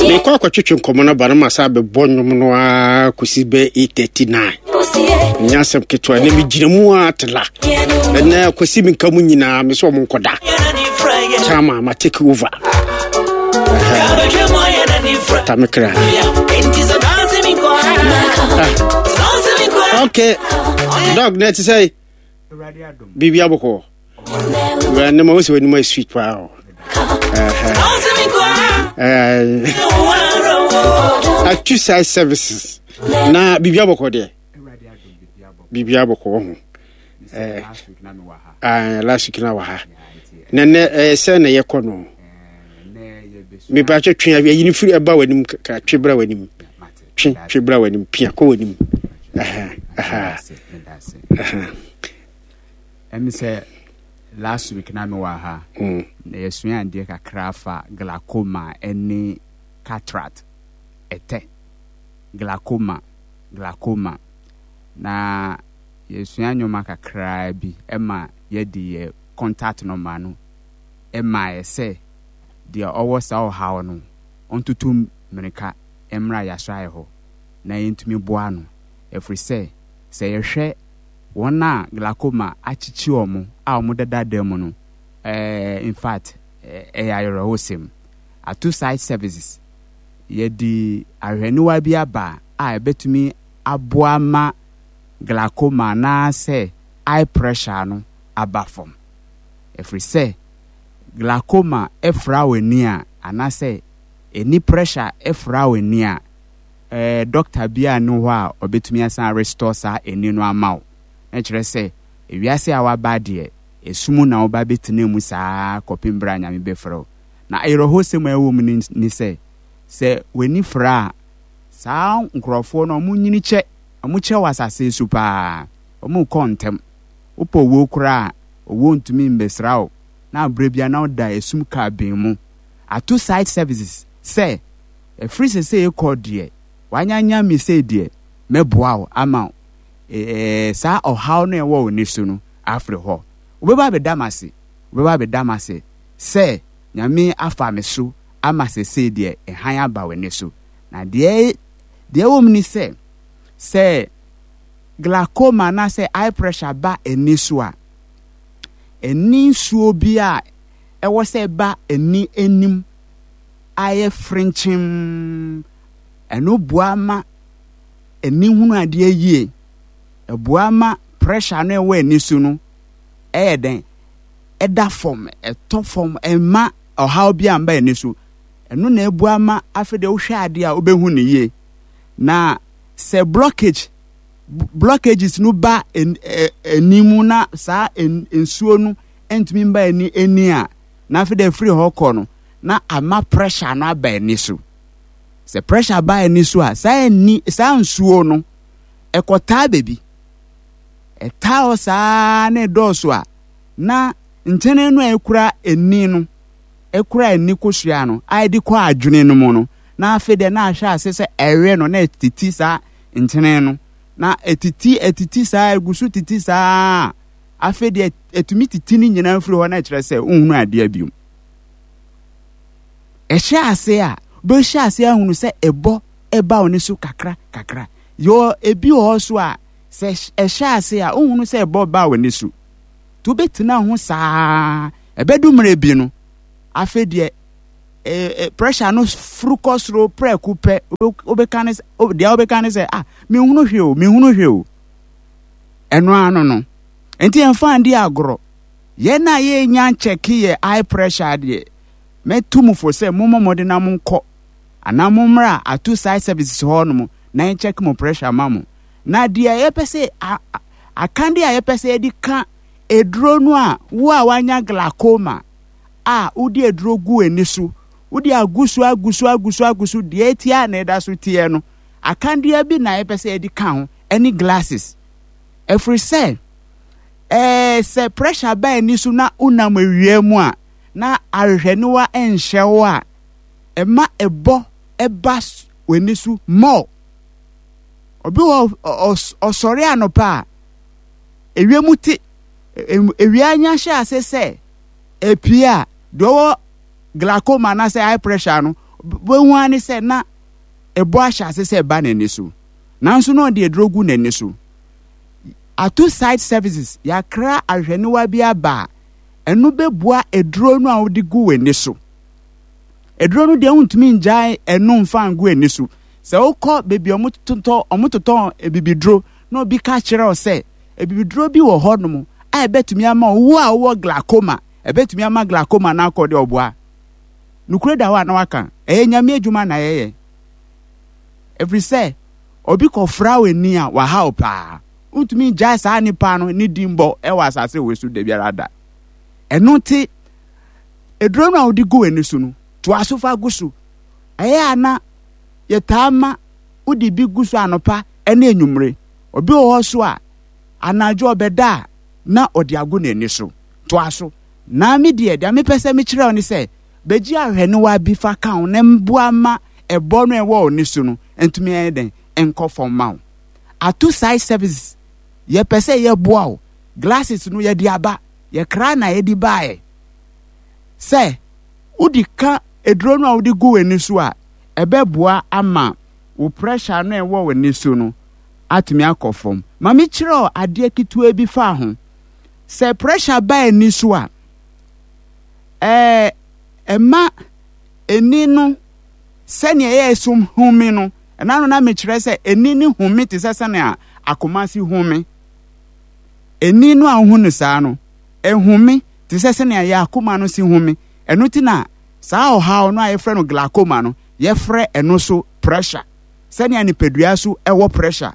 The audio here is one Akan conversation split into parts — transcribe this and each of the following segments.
Mekɔ akɔtwetwe nkɔmmɔ no aba no ma sa bɛbɔ nnwom no ara kɔsi bɛ 8:39. Nyɛ asɛm ketewa na megyina mu a tela. Ɛnɛ kwasi me nka mu nyinaa me sɛ ɔmo nkɔda. Chama ma take over. Tamekra. Ah. Okay. Dog, na ɛte sɛ biribi abɔkɔ. Ne ma wo sɛ w'anim ayɛ sweet paa o. Atu side services na biribi abɔkɔ deɛ. Biribi abɔkɔ wɔ ho. Last week na wɔ ha. Na nɛ ɛyɛ sɛ na yɛkɔ no. Mepa kyɛ twe ayi no firi ɛba w'anim kakra twe bra w'anim. Twe twe bra w'anim pia kɔ w'anim. Aha aha. Ɛmi sɛ last week na mewɔ ha na yɛsua adeɛ kakra afa glaucoma ɛne cataract ɛtɛ glaucoma glaucoma na yɛsua nneɛma kakraa bi ɛma yɛde yɛ contact number no ɛma yɛ sɛ deɛ ɔwɔ saa ɔhaw no ɔntutu mmirika mmra yɛasraeɛ hɔ na yɛntumi boa no ɛfiri sɛ sɛ yɛhwɛ wɔn a glaucoma akyekye wɔn a wɔdeda dan mu no, eh, in fact, ɛyɛ awerɛhosɛm. Ato Sight Services, yɛde ahwehwɛniwa bi aba a ɛbɛtumi aboa ma glaucoma anaasɛ eye pressure no aba fam. Ɛfiri sɛ, glaucoma fra w'ani a, anaasɛ ani pressure fra w'ani a, eh, doctor biara nni hɔ a ɔbɛtumi asan restore saa ani no ama wo. Na kyerɛ sɛ, ewiase a waba deɛ, esum na woba bɛtena mu saa kɔpem berɛ a Nyame bɛfrɛ wo. Na ayerɛhosɛm a ɛwɔ mu ne sɛ, sɛ w'ani fra a, saa nkorɔfoɔ no wɔn nyini kyɛ, wɔn kyɛ wɔ asase so paa, wɔn kɔ ntɛm. Wopɛ owuo koraa a, owuo ntumi mbɛsra wo, na berɛ biara na woda esum kabin mu. Ato Site Services sɛ Ɛfiri sesei rekɔ deɛ, woanyanya me sei deɛ, mɛboa wo ama saa ɔhaw no a ɛwɔ wo ani so no afiri hɔ. Wobɛba abɛda m'ase, wobɛba abɛda m'ase sɛ Nyame afa me so ama sesei deɛ hann aba w'ani so. Na deɛ deɛ ɛwɔ mu ne sɛ, sɛ glaucoma anaasɛ eye pressure ba ani so a, ani nsuo bi a ɛwɔ sɛ ɛba ani anim ayɛ frenkyemm. Ɛno boa ma ani hunu adeɛ yie. Ɛboa ma pressure no ɛwɔ ani so no ɛyɛ dɛn? Ɛda fam, ɛtɔ fam, ɛmma ɔhaw bi amba ani so. Ɛno na ɛboa ma afei deɛ wohwɛ adeɛ a wobɛhu no yie. Na sɛ blockage blockages no ba ani mu na saa nsuo no ntumi mba ani ani a, na afei deɛ ɛfiri hɔ kɔ no, na ama pressure no aba ani so. Sɛ pressure ba ani so a, saa ani saa nsuo no ɛkɔtaa baabi. Ɛtaa hɔ saa na ɛdɔɔso a, na nkyene no a ɛkura ani no, ɛkura ani kosua no a ɛde kɔ adwene no mu no, na afei deɛ na ahyɛ ase sɛ ɛwe no na ɛtiti saa nkyene no. Na ɛtiti ɛtiti saa ɛgu so titi saa afei deɛ ɛtumi titi ne nyinaa firi hɔ na ɛkyerɛ sɛ wohunu adeɛ biom. Ɛhyɛ ase a, wobɛhyɛ ase ahunu sɛ ɛbɔ ɛba wo ne so kakra kakra. Yɛ ebi wɔ hɔ so a, sɛ ɛhyɛ ase a, wohunu sɛ ɛbɔ ba wo ne so. Nti wobɛtena ho saa, ɛbɛdu mmerɛ bi no, afei deɛ pressure no furu kɔ soro prɛko pɛ, wobɛka ne sɛ, deɛ wobɛka ne sɛ, ah, menhunu hwee o, menhunu hwee o. Ɛno ano no. Nti ɛmfa ndi agorɔ. Yɛn a yɛnnya nkyɛke yɛ eye pressure deɛ, mɛtu mo fo sɛ mommɔ mmɔden na monkɔ anaa mommra Ato Site Services hɔ nom na yɛnkyɛke mo pressure ma mo. Na deɛ yɛpɛ sɛ akadeɛ a yɛpɛ sɛ yɛde ka aduro no a wo a wanya glaucoma a wode aduro gu ani so, wode agu so agu so agu so agu so deɛ ɛteɛ a na ɛda so teɛ no, akadeɛ bi na yɛpɛ sɛ yɛde ka ho ɛne glasses. Ɛfiri sɛ Ɛɛ, sɛ pressure ba ani so na wonam awia mu a, na ahwehwɛniwa nhyɛ wo a, ɛma ɛbɔ ba w'ani so more. Obi wɔ ɔsɔre anɔpa a, ewia mu te, ewia nya hyɛ ase sɛ epie a, deɛ ɔwɔ glaucoma anaasɛ high pressure no, Wobɛhu ara ne sɛ na ɛbɔ ahyɛ ase sɛ ɛba n'ani so. Nanso na ɔde aduro gu n'ani so. Ato Sight Services, yɛakra ahwehwɛniwa bi aba a, ɛno bɛbua aduro no a wode gu w'ani so. Aduro no deɛ wontumi ngyae ɛno mfa ngu ani so. Sɛ wokɔ baabi a wɔtotɔ wɔtotɔn abibiduro na obi ka kyerɛ wo sɛ abibiduro bi wɔ hɔnom a ɛbɛtumi ama wo a wowɔ glaucoma, ɛbɛtumi ama glaucoma no akɔ deɛ ɔboa. Nokorɛ da hɔ a na waka, ɛyɛ Nyame adwuma na yɛyɛ. Ɛfiri sɛ obi kɔfra w'ani a wahaw paa. Wontumi ngyae saa nipa no ne din bɔ wɔ asase wei so da biara da. Ɛno nti, aduro no a wode gu w'ani so no, toa so fa gu so. Ɛyɛ a na yɛtaa ma wode bi gu so anɔpa ne anwummere. Obi wɔ hɔ so a, anadwo ɔbɛda a na ɔde agu n'ani so. Toa so. Na me deɛ, deɛ mepɛ sɛ mekyerɛ wo ne sɛ, bɛgye ahwɛnewa bi fa ka ho na mboa ma ɛbɔ no a ɛwɔ w'ani so no ntumi ɛyɛ dɛn nkɔ fam ma wo. Ato Sight Services, yɛpɛ sɛ yɛboa wo. Glasses no yɛde aba, yɛkra na yɛde baeɛ. Sɛ wode ka aduro no a wode gu w'ani so a, ɛbɛboa ama wo pressure no a ɛwɔ w'ani so no atumi akɔ fam. Ma mekyerɛ wo adeɛ ketewa bi fa ho. Sɛ pressure ba ani so a, ɛɛ ɛma ani no sɛnea ɛyɛ so home no, ɛna no na mekyerɛ sɛ ani no home te sɛ sɛnea akoma si home. Ani no a wohu no saa no, ɛhome te sɛ sɛnea yɛ akoma no si home. Ɛno ti na saa ɔhaw no a yɛfrɛ no glaucoma no, yɛfrɛ ɛno so pressure. Sɛnea nipadua so ɛwɔ pressure.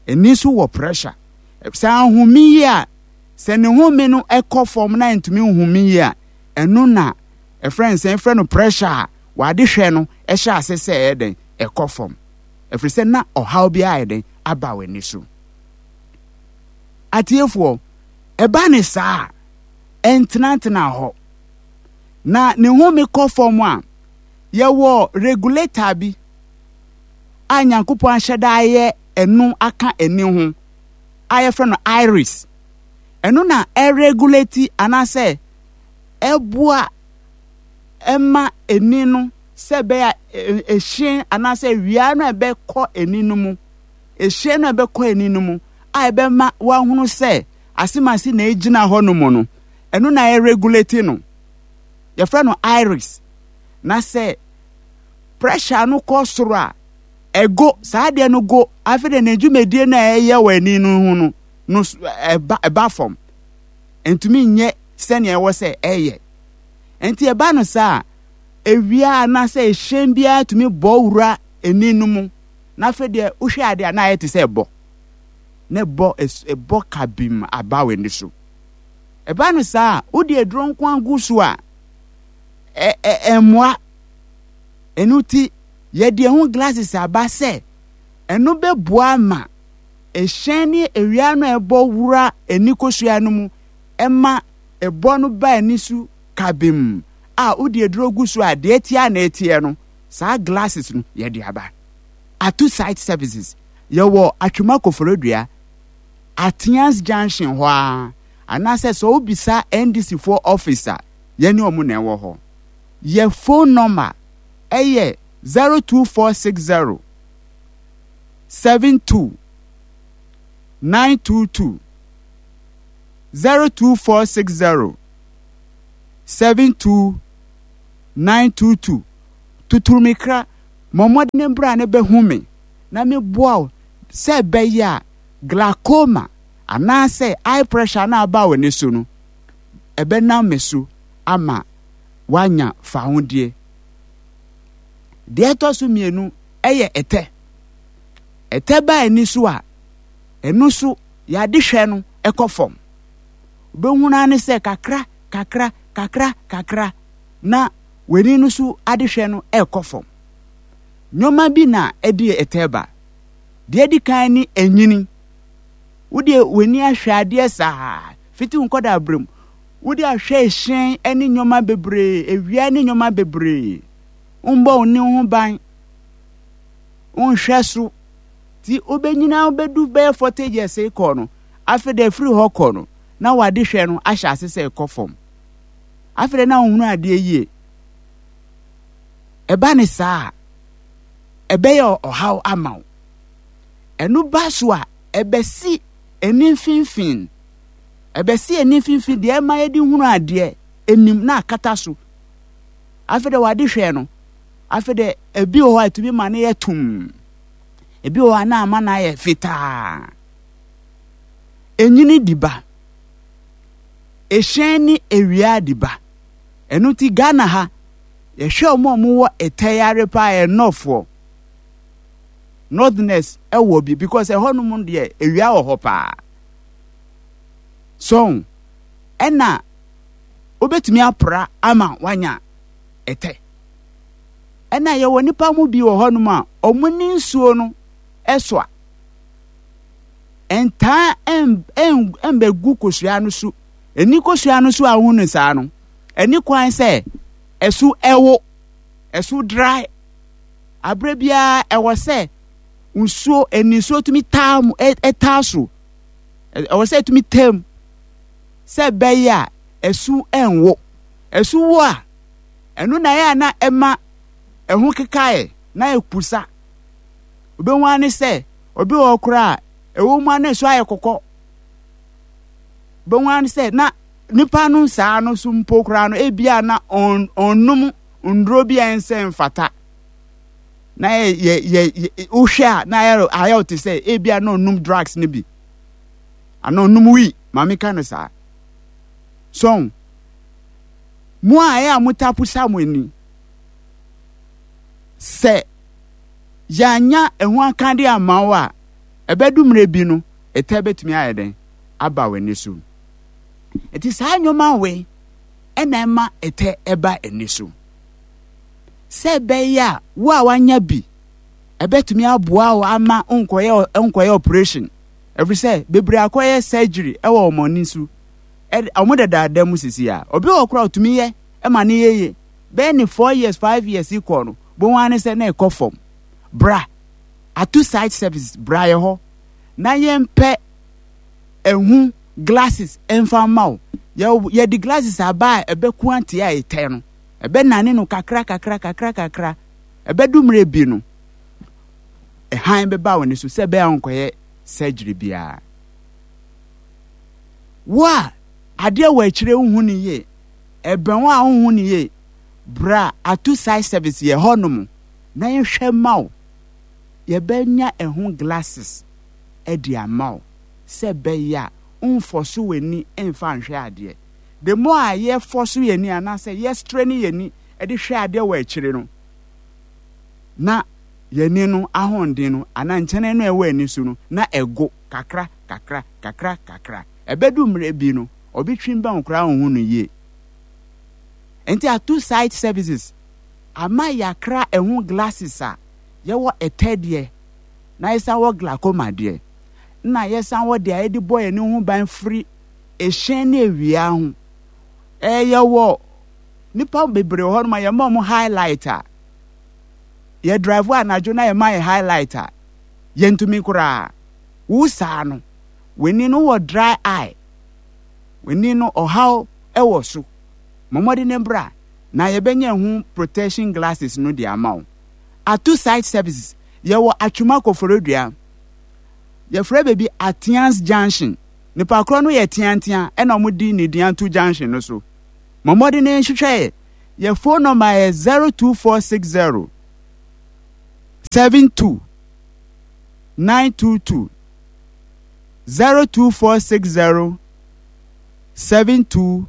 Ani so wɔ pressure. Sɛ ahome yie a, sɛ ne home no kɔ fam na ntumi nhome yie a, ɛno na ɛfrɛ no sɛ ɛfrɛ no pressure a wade hwɛ no ɛhyɛ ase sɛ ɛyɛ dɛn ɛkɔ fam. Ɛfiri sɛ na ɔhaw bi ayɛ dɛn aba w'ani so. Atiefoɔ, ɛba ne saa a, ɛntenatena hɔ. Na ne home kɔ fam a, yɛwɔ regulator bi a Nyankopɔn ahyɛ da ayɛ ɛno aka ani ho a yɛfrɛ no iris. Ɛno na ɛregulate anaasɛ ɛboa ɛma ani no sɛ ɛbɛyɛ a ɛhyɛn anaasɛ awia no a ɛbɛkɔ ani no mu, ɛhyɛn no a ɛbɛkɔ ani no mu a ɛbɛma wahunu sɛ asemase na ɛgyina hɔ no mu no, ɛno na ɛregulate no. Yɛfrɛ no iris. Na sɛ pressure no kɔ soro a, ɛgo, saa adeɛ no go, afei de ne dwumadie no a ɛyɛ wɔ ani no ho no, no ɛba, ɛba fam. Ntumi nyɛ sɛnea ɛwɔ sɛ ɛyɛ. Nti ɛba no saa a, ewia anaasɛ ehyɛn biara tumi bɔ wura ani no mu, na afei deɛ wohwɛ adeɛ a na ayɛ te sɛ ɛbɔ. Na ɛbɔ, ɛbɔ kabim aba w'ani so. Ɛba no saa a, wode aduro nko agu so a, ɛ, ɛ, ɛmmoa. Ɛno nti, yɛde ɛho glasses aba sɛ ɛno bɛboa ma ɛhyɛn ne awia no a ɛbɔ wura ani kosua no mu ɛma ɛbɔ no ba ani so kabem a wode aduro gu so a deɛ ɛteɛ a na ɛteɛ no saa glasses no yɛde aba. Ato Site Services yɛwɔ Atwima Koforodua Ateans Junction hɔ ara anaasɛ sɛ wobisa NDC foɔ office a yɛne wɔn na ɛwɔ hɔ. Yɛ phone number ɛyɛ 02460 72 922 02460 72 922 Tuturumikra, mmɔ mmɔden bra na bɛhu me na meboa wo sɛ ɛbɛyɛ a glaucoma anaasɛ eye pressure no a aba w'ani so no, ɛbɛnam me so ama woanya fahodie. Deɛ ɛtɔ so mmienu yɛ ɛtɛ. Ɛtɛ ba ani so a, ɛno so yɛade hwɛ no kɔ fam. Wobɛhunu ara ne sɛ kakra kakra kakra kakra na w'ani no so adehwɛ no ɛrekɔ fam. Nneɛma bi na ɛde ɛtɛ ba. Deɛ ɛdi kan ne ɛnyini. Wodeɛ w'ani ahwɛ adeɛ saa fiti wo nkɔda berɛ mu. Wode ahwɛ ɛhyɛn ne nneɛma bebree, awia ne nneɛma bebree. Wombɔ wo ne ho ban. Wonhwɛ so. Ti wobɛnyina wobɛdu bɛyɛ 40 years kɔ no, afei de afiri hɔ kɔ no, na wade hwɛ no ahyɛ ase sɛ ɛkɔ fam. Afei de na wohunu adeɛ yie. Ɛba ne saa a, ɛbɛyɛ ɔhaw ama wo. Ɛno ba so a, ɛbɛsi ani mfimfini. Ɛbɛsi ani mfimfini deɛ ɛma yɛde hunu adeɛ anim na akata so. Afei de wade hwɛ no, afei de ebi wɔ hɔ a ɛtumi ma no yɛ tumm. Ebi wɔ hɔ a na ama no ayɛ fitaa. Enyini di ba. Ehyɛn ne ewia di ba. Ɛno nti Ghana ha, yɛhwɛ wɔn a wɔwɔ ɛtɛ yare paa yɛ Northfoɔ. Northerners ɛwɔ bi because ɛhɔnom deɛ ewia wɔ hɔ paa. So ɛna wobɛtumi apra ama wanya ɛtɛ. Ɛna yɛwɔ nipa mu bi wɔ hɔnom a wɔn ne nsuo no ɛsoa. Ɛntaa ɛmbɛgu kosua no so. Ɛni kosua no so a wohu no saa no, ɛni kwan sɛ ɛso ɛwo, ɛso dry. Aberɛ biara ɛwɔ sɛ nsuo, ɛni nsuo tumi taa mu, ɛtaa so. Ɛwɔ sɛ ɛtumi taa mu sɛ ɛbɛyɛ a ɛso ɛnwo. Ɛso wo a, ɛno na ɛyɛ a na ɛma ɛho kekaeɛ na ɛpusa. Wobɛhu ara ne sɛ obi wɔ hɔ koraa a ɛwɔ mu a na ɛso ayɛ kɔkɔ. Wobɛhu ara ne sɛ na nipa no saa no so mpo koraa no ebia na ɔnnom nnuro bi a ɛnsɛ mfata. Na yɛ yɛ yɛ wohwɛ a na ayɛ ayɛ wo te sɛ ebia na ɔnnom drugs no bi. Ana ɔnnom wii, maame ka no saa. So mo a ɛyɛ a motapo sa mo ani sɛ yɛanya ɛho akade amma wo a, ɛbɛdu mmerɛ bi no, ɛtɛ bɛtumi ayɛ dɛn aba w'ani so. Nti saa nneɛma wei ɛna ɛma ɛtɛ ɛba ani so. Sɛ ɛbɛyɛ a wo a wanya bi, ɛbɛtumi aboa wo ama nkɔyɛ nkɔyɛ operation. Ɛfiri sɛ bebree akɔyɛ surgery ɛwɔ wɔn ani so. Wɔn dadaada mu sisi a, obi wɔ koraa otumi yɛ ɛma ne yɛ yie. Bɛyɛ ne 4 years, 5 years kɔ no, bohu ara ne sɛ na ɛkɔ fam. Bra Ato Site Services, bra yɛ hɔ na yɛmpɛ ɛho glasses ɛmfa mma wo. Yɛde glasses aba a ɛbɛko atia a ɛtɛ no, ɛbɛnane no kakra kakra kakra kakra. Ɛbɛdu mmerɛ bi no, ɛhan bɛba wo ne so sɛ ɛbɛyɛ a wonkɔyɛ surgery biara. Wo a adeɛ wɔ akyire wohu no yie, ɛbɛn wo a wohu no yie, bra Ato Site Service yɛ hɔ nom na yɛhwɛ ma wo. Yɛbɛnya ɛho glasses de ama wo sɛ ɛbɛyɛ a womfɔso w'ani mfa nhwɛ adeɛ. The more a yɛfɔso yɛn ani anaasɛ yɛ strain yɛn ani de hwɛ adeɛ wɔ akyire no, na yɛn ani no ahoɔden no anaa nkyɛnɛ no a ɛwɔ ani so no na ɛgo kakra kakra kakra kakra. Ɛbɛdu mmerɛ bi no, obi twe bɛn wo koraa wonhu no yie. Nti Ato Site Services ama yɛakra ɛho glasses a yɛwɔ ɛtɛ deɛ na yɛsan wɔ glaucoma deɛ na yɛsan wɔ deɛ a yɛde bɔ yɛn ho ban firi ehyɛn ne awia ho. Ɛɛ yɛwɔ nipa bebree wɔ hɔnom a yɛma wɔn highlight a yɛ drive anadwo na yɛma yɛ highlight a yɛntumi koraa. Wo saa no, w'ani no wɔ dry eye, w'ani no ɔhaw wɔ so. Bɔ mmɔden ne bra na yɛbɛnya ɛho protection glasses no de ama wo. Ato Site Services, yɛwɔ Atwuma Koforidua. Yɛfrɛ baabi Atians Junction. Nipa korɔ no yɛ teantea ɛna wɔn di ne din ato junction no so. Bɔ mmɔden ne nhwehwɛ yɛ. Yɛ phone number yɛ 02460 72 922 02460 72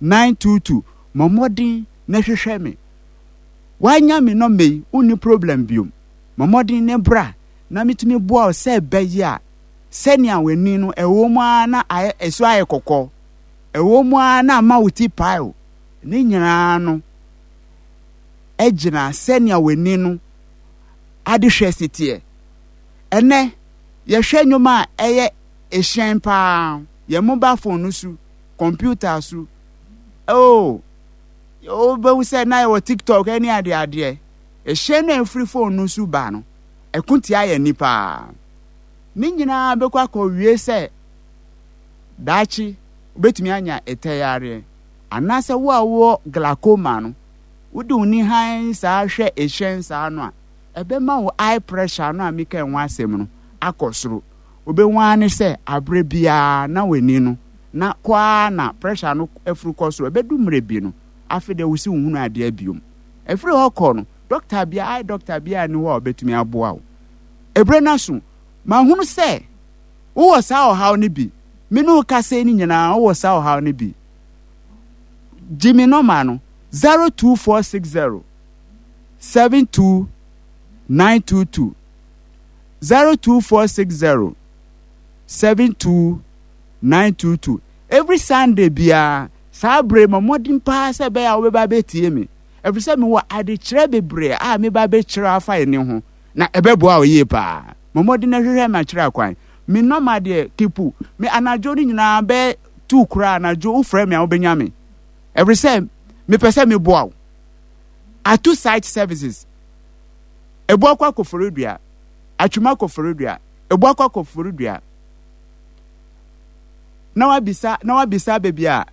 922. Bɔ mmɔden na hwehwɛ me. Wanya me nɔmba yi, wonni problem biom. Bɔ mmɔden ne bra na metumi boa wo sɛ ɛbɛyɛ a sɛnea w'ani no ɛwɔ mu ara na ayɛ ɛso ayɛ kɔkɔɔ, ɛwɔ mu ara na ama wo ti pae o. Ne nyinaa no gyina sɛnea w'ani no adehwɛ si teɛ. Ɛnɛ yɛhwɛ nnwuma a ɛyɛ ehyɛn paa, yɛn mobile phone no so, computer so. Oh, wobɛhu sɛ na yɛwɔ TikTok ne adeadeɛ. Ehyɛn no a ɛfiri phone no so ba no, ɛko tia yɛn ani paa. Ne nyinaa bɛkɔ akɔwie sɛ daakye wobɛtumi anya ɛtɛ yareɛ anaasɛ wo a wowɔ glaucoma no. Wode wo ni hann saa hwɛ ehyɛn saa no a, ɛbɛma wo eye pressure no a meka ho asɛm no akɔ soro. Wobɛhu ara ne sɛ aberɛ biara na w'ani no na kɔ ara na pressure no afuru kɔ soro. Ɛbɛdu mmerɛ bi no, afei deɛ wo se wohunu adeɛ biom. Ɛfiri hɔ kɔ no, dɔkta biara, eye doctor biara nni hɔ a ɔbɛtumi aboa wo. Ɛberɛ no aso, mahunu sɛ wowɔ saa ɔhaw no bi. Me ne wo kasa yi no nyinaa wowɔ saa ɔhaw no bi. Gye me nɔma no, 02460 72922. 02460 72922. Every Sunday biara, saa bere ma mmɔden paa sɛ ɛbɛyɛ a wobɛba abɛtie me. Ɛfiri sɛ mewɔ adekyerɛ bebree a meba abɛkyerɛ afa ɛne ho, na ɛbɛboa wo yie paa. Bɔ mmɔden na hwehwɛ me akyerɛ akwan. Me nɔma deɛ, keep me anadwo no nyinaa bɛyɛ tuu koraa anadwo wofrɛ me a wobɛnya me. Ɛfiri sɛ mepɛ sɛ meboa wo. Atu site services. Ebuakwa Koforidua, Atwuma Koforidua, Ebuakwa Koforidua. Na wabisa na wabisa baabi a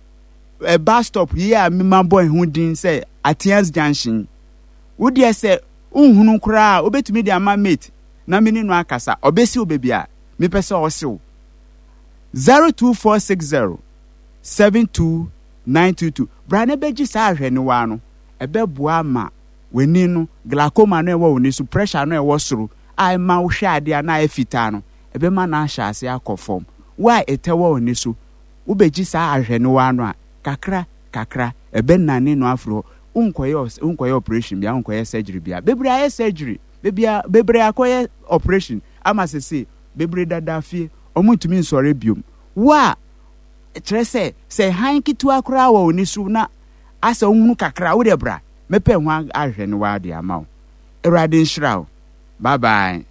eh, bus stop yi a mema bɔ ho din sɛ Atias Junction. Wo deɛ sɛ wonhunu koraa a wobɛtumi de ama mate na me ne no akasa. Ɔbɛsi wo baabi a mepɛ sɛ ɔse wo. 02460 72922. Bra na bɛgye saa ahwɛniwa no. Ɛbɛboa ma w'ani no, glaucoma no a ɛwɔ w'ani so, pressure no a ɛwɔ soro a ɛma wohwɛ adeɛ a na ayɛ fitaa no, ɛbɛma no ahyɛ ase akɔ fam. Wo a ɛtɛ wɔ w'ani so, wobɛgye saa ahwɛniwa no a, kakra kakra, ɛbɛnane no afiri hɔ. Wonkɔyɛ wonkɔyɛ operation bia, wonkɔyɛ surgery bia. Bebree ayɛ surgery, bebia bebree akɔyɛ operation ama sese bebree dada fie, wɔn ntumi nsɔre biom. Wo a kyerɛ sɛ sɛ hann ketewa koraa wɔ w'ani so na asɛ wohunu kakra, wo deɛ bra. Mɛpɛ ho ahwɛ ne w'ade ama wo. Awurade nhyira wo. Bye bye.